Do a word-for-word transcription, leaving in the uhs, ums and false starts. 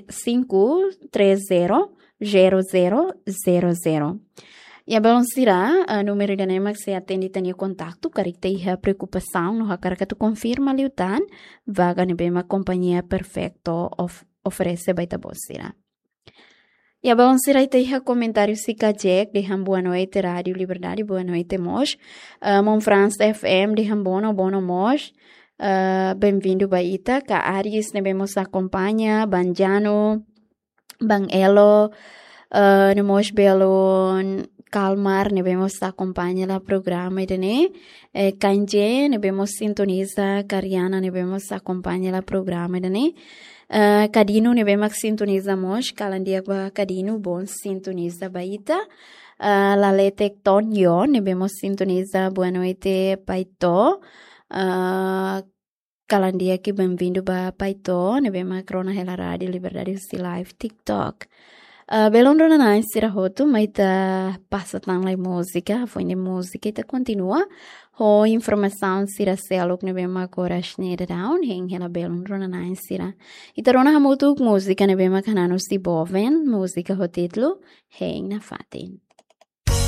cinco três zero zero zero zero zero. Iha belun sira, ah, númeru ida-ne'e mak sei atende ita-nia kontaktu, karik ita iha preokupasaun no hakarak atu konfirma liután vaga ne'ebé mak Companhia Perfeito of-, oferese ba ita-boot sira. Iha belun sira, ita iha komentáriu Sika Jack dehan boa noite Rádio Liberdade, boa noite mós. Ah, Mon Franz F M dehan bono, bono mós. Ah, bem-vindo ba ita, Ka Aris ne'ebé mós akompaña, Banjano, Bang Elo, ah, no mós belun Kalmar ne'ebé mós akompaña hela programa ida-ne'e. Eh, Kanje ne'ebé mós sintoniza, Kariana ne'ebé mós akompaña hela programa ida-ne'e. Ah, Kadino ne'ebé mak sintoniza mós, kalan di'ak ba Kadino, bom sintoniza ba ita. Ah, Laletek Tonyo ne'ebé mós sintoniza, boa noite Paito. Ah, kalan di'ak i bem-vindo ba Paito ne'ebé mak rona hela Rádio Liberdade husi live TikTok. Ah, belun rona-na'in sira hotu, mai ita pasa tan lai múzika, foin de múzika ita kontinua ho informasaun sira seluk ne'ebé mak oras ne'e daudaun hein hela belun rona-na'in sira. Ita rona hamutuk múzika ne'ebé mak hanan husi Boven, múzika ho títulu Hein Nafatin.